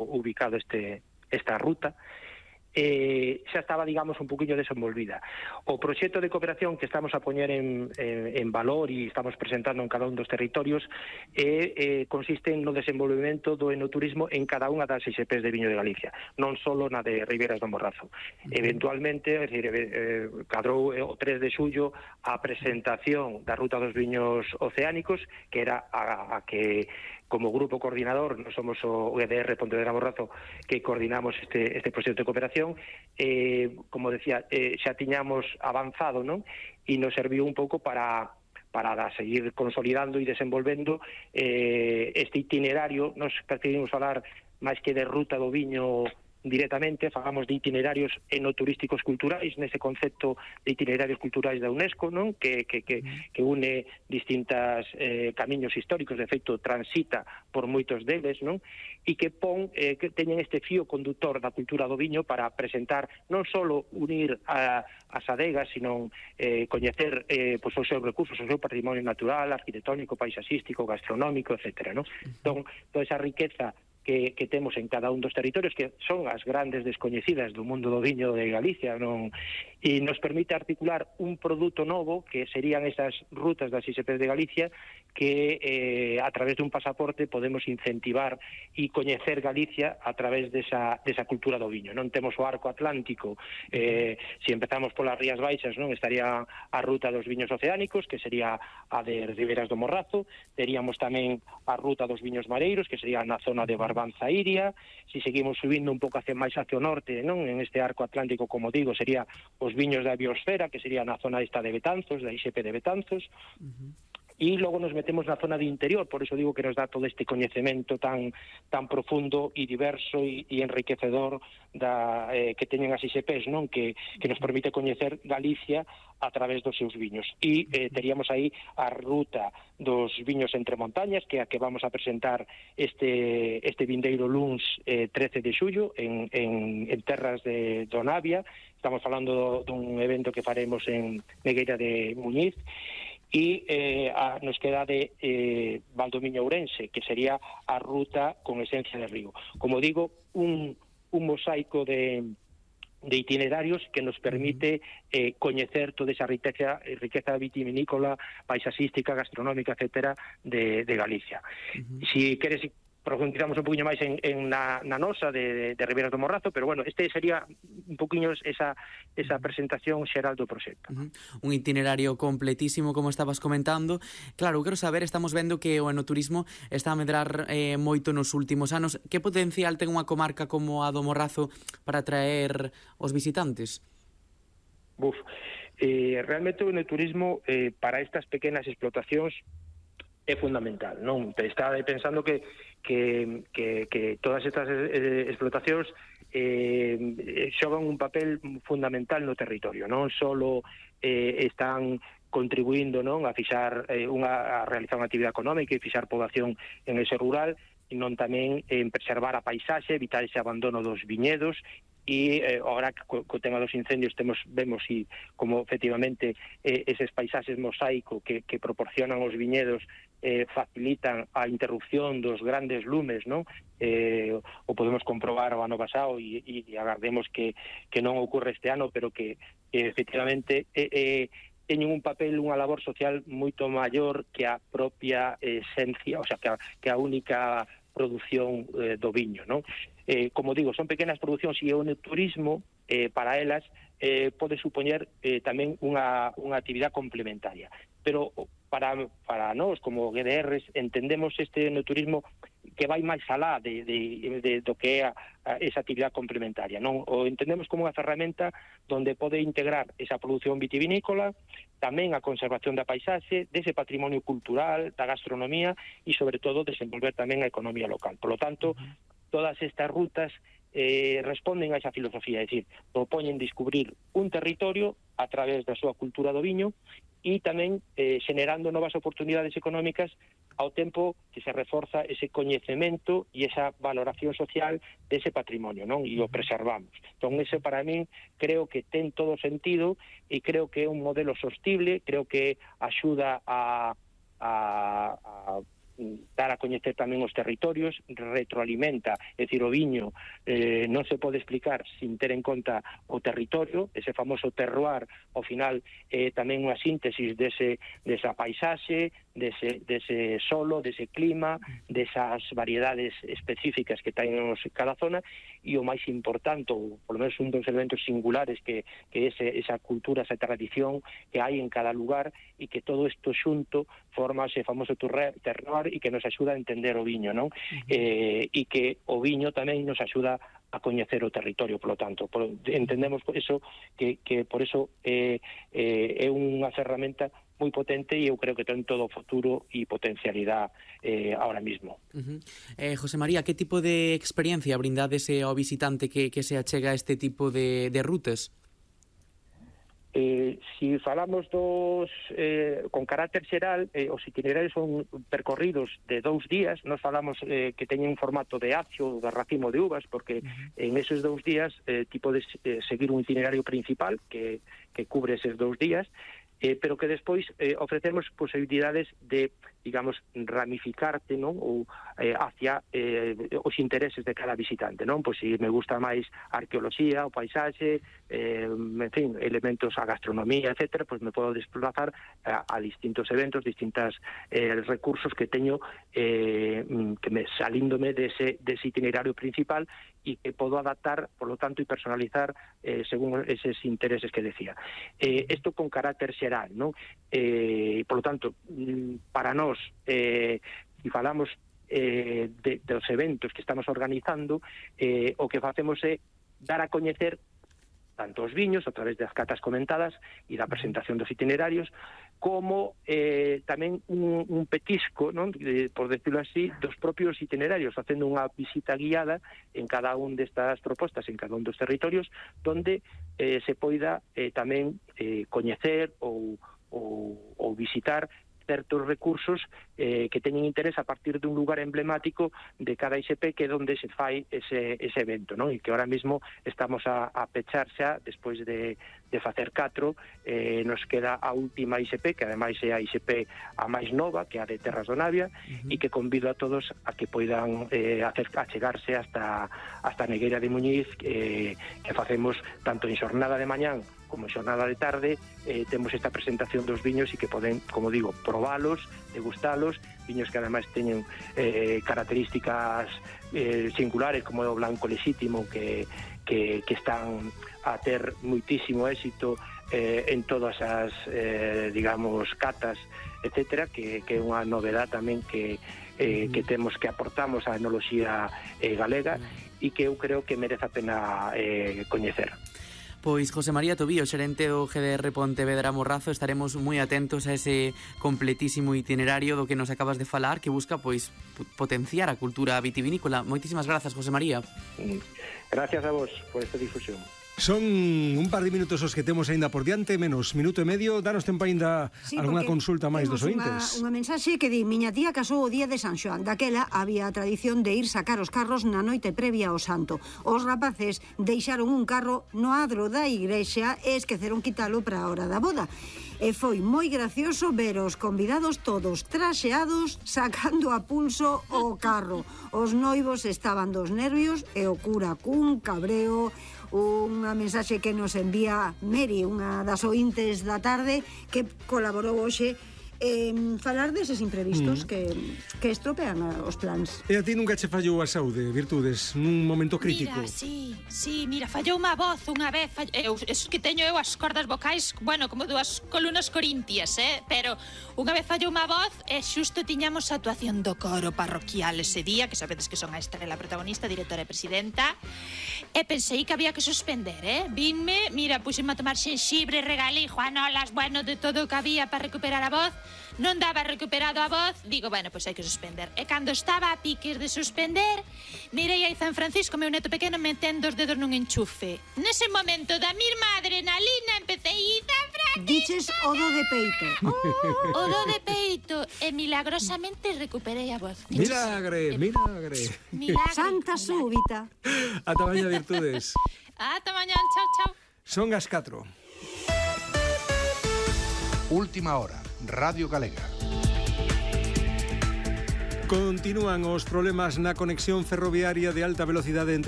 ubicado esta ruta, xa estaba, digamos, un poquinho desenvolvida. O proxecto de cooperación que estamos a poñer en valor e estamos presentando en cada un dos territorios consiste no desenvolvemento do enoturismo en cada unha das ISPs de viño de Galicia, non só na de Ribeiras do Morrazo. Eventualmente, é dicir, cadrou o 3 de xullo a presentación da Ruta dos Viños Oceánicos, que era a que, como grupo coordinador, non somos o EDR Pontevedra Morrazo, que coordinamos este proxecto de cooperación. Como decía, xa tiñamos avanzado, non? E nos serviu un pouco para seguir consolidando e desenvolvendo este itinerario. Nos preferimos falar máis que de ruta do viño directamente, falamos de itinerarios enoturísticos culturais, nese concepto de itinerarios culturais da UNESCO, non? Que une distintas camiños históricos, de feito transita por moitos deles, non? E que que teñen este fío conductor da cultura do viño para presentar non só unir as adegas, sino coñecer os seus recursos, o seu patrimonio natural, arquitectónico, paisaxístico, gastronómico, etc. Entón, toda esa riqueza que temos en cada un dos territorios, que son as grandes descoñecidas do mundo do viño de Galicia, non? E nos permite articular un produto novo, que serían esas rutas das ISPs de Galicia, que a través dun pasaporte podemos incentivar e coñecer Galicia a través desa cultura do viño. Non temos o arco atlántico, se empezamos polas Rías Baixas, non, estaría a ruta dos viños oceánicos, que sería a de Ribeiras do Morrazo. Teríamos tamén a ruta dos viños mareiros, que sería na zona de Barbanza Iria. Se seguimos subindo un pouco máis hacia o norte, non, en este arco atlántico, como digo, sería os viños da biosfera, que sería na zona esta de Betanzos, da ISP de Betanzos. E logo nos metemos na zona de interior, por iso digo que nos dá todo este coñecemento tan profundo e diverso e enriquecedor que teñen as ISPs, non? Que nos permite coñecer Galicia a través dos seus viños. E teríamos aí a ruta dos viños entre montañas, que é a que vamos a presentar este vindeiro luns 13 de xullo en terras de Navia. Estamos falando dun evento que faremos en Negueira de Muñiz. E nos queda de Valdomiño Ourense, que sería a ruta con esencia de río. Como digo, un mosaico de itinerarios que nos permite coñecer toda esa riqueza vitivinícola, paisaxística, gastronómica, etcétera, de Galicia. Si queres, profundizamos un poquinho máis na nosa de Ribeiras do Morrazo, pero bueno, este sería un poquinho esa presentación xeral do proxecto. Un itinerario completísimo, como estabas comentando. Claro, quero saber, estamos vendo que o enoturismo está a medrar moito nos últimos anos. Que potencial ten unha comarca como a do Morrazo para atraer os visitantes? Realmente o enoturismo para estas pequenas explotacións é fundamental, non? Está pensando que todas estas explotacións xogan un papel fundamental no territorio, non só están contribuindo, non, a realizar unha actividade económica e fixar poboación en ese rural, non tamén en preservar a paisaxe, evitar ese abandono dos viñedos. E agora co tema dos incendios vemos como efectivamente eses paisaxes mosaico que proporcionan os viñedos facilitan a interrupción dos grandes lumes, non? O podemos comprobar o ano pasado e agardemos que non ocorre este ano, pero que efectivamente teñen un papel, unha labor social moito maior que a propia esencia, o sea, que a única produción do viño, non? Como digo, son pequenas producións e o turismo para elas pode supoñer tamén unha actividade complementaria. Pero para nós, como GDRs, entendemos este enoturismo que vai máis alá do que é esa actividade complementaria, non? O entendemos como unha ferramenta onde pode integrar esa produción vitivinícola, tamén a conservación da paisaxe, dese patrimonio cultural, da gastronomía e, sobre todo, desenvolver tamén a economía local. Por lo tanto, todas estas rutas responden a esa filosofía, é dicir, propoñen descubrir un territorio a través da súa cultura do viño e tamén xenerando novas oportunidades económicas ao tempo que se reforza ese coñecemento e esa valoración social dese patrimonio, non? E o preservamos. Entón, ese para min creo que ten todo sentido e creo que é un modelo sostible, creo que axuda a dar a coñecer tamén os territorios, retroalimenta, é dicir, o viño non se pode explicar sin ter en conta o territorio, ese famoso terroir, ao final tamén unha síntesis desa paisaxe, dese solo, dese clima, desas variedades específicas que teñen cada zona, e o máis importante, ou polo menos un dos elementos singulares que esa cultura, esa tradición que hai en cada lugar, e que todo isto xunto forma ese famoso terroir e que nos axuda a entender o viño, non? E que o viño tamén nos axuda a coñecer o territorio, polo tanto. Entendemos por eso que por eso é unha ferramenta moi potente, e eu creo que ten todo o futuro e potencialidade ahora mismo. José María, que tipo de experiencia brindades ao visitante que se achega a este tipo de rutas? Si falamos con carácter xeral, os itinerarios son percorridos de 2 días. Nos falamos que teñen un formato de acio ou de racimo de uvas, porque en esos 2 días ti podes seguir un itinerario principal que cubre esos 2 días, pero que despois ofrecemos posibilidades de, digamos, ramificarte, non? Ou hacia os intereses de cada visitante, non? Pois se me gusta máis a arqueoloxía, o paisaxe, en fin, elementos, a gastronomía, etcétera, pois me podo desplazar a distintos eventos, distintos recursos que teño que me salíndome dese itinerario principal, e que podo adaptar, por lo tanto, e personalizar según eses intereses que decía. Isto con carácter xeral, non? Por lo tanto, para nós, se falamos dos eventos que estamos organizando, o que facemos é dar a coñecer tanto os viños a través das catas comentadas e da presentación dos itinerarios, como tamén un petisco, non? Por decirlo así, dos propios itinerarios, facendo unha visita guiada en cada un destas propostas, en cada un dos territorios, donde se poida tamén coñecer ou visitar certos recursos que teñen interés a partir dun lugar emblemático de cada ISP, que é onde se fai ese evento, non? E que ahora mesmo estamos a pechar xa, despois de facer 4, nos queda a última ISP, que ademais é a ISP a máis nova, que é a de Terras do Navia, e que convido a todos a que poidan achegarse hasta a Negueira de Muñiz, que facemos tanto en xornada de mañán como en xornada de tarde. Temos esta presentación dos viños e que poden, como digo, probalos, degustalos, viños que ademais teñen características singulares, como o blanco lexítimo, que están a ter moitísimo éxito en todas as, digamos, catas, etcétera, que é unha novedade tamén que temos, que aportamos á enoloxía galega, e que eu creo que merece a pena coñecer. Pois José María Tobío, xerente do GDR Pontevedra Morrazo, estaremos moi atentos a ese completísimo itinerario do que nos acabas de falar, que busca pois potenciar a cultura vitivinícola. Moitísimas grazas, José María. Gracias a vos por esta difusión. Son un par de minutos os que temos aínda por diante, menos minuto e medio. Danos tempo aínda algunha consulta máis dos ointes. Unha mensaxe que di: miña tía casou o día de San Xoán. Daquela había a tradición de ir sacar os carros na noite previa ao santo. Os rapaces deixaron un carro no adro da igrexa e esqueceron quitalo para a hora da boda. E foi moi gracioso ver os convidados todos traxeados sacando a pulso o carro. Os noivos estaban dos nervios e o cura cun cabreo. Unha mensaxe que nos envía Meri, unha das ointes da tarde, que colaborou hoxe falar deses imprevistos que estropean os plans. E a ti nunca che fallou a saúde, Virtudes, nun momento crítico? Mira, sí, mira, fallou unha voz unha vez, eso que teño eu as cordas vocais, bueno, como dúas columnas corintias, pero unha vez fallou unha voz e xusto tiñamos a actuación do coro parroquial ese día, que sabedes que son a estrela protagonista, directora e presidenta, e pensei que había que suspender, Vinme, mira, puxeme a tomar xenxibre, regalei juanolas, bueno, de todo o que había para recuperar a voz. Non daba recuperado a voz, digo, bueno, pois hai que suspender. E cando estaba a piques de suspender, mirei aí San Francisco, meu neto pequeno, metendo os dedos nun enchufe. Nese momento da mesma adrenalina empecé a San Francisco. Diches o do de peito. O do de peito. E milagrosamente recuperei a voz. Milagre. Santa súbita. Ata mañá, Virtudes. Ata mañá, chao. Son as 4. Última hora, Radio Galega. Continúan os problemas na conexión ferroviaria de alta velocidade entre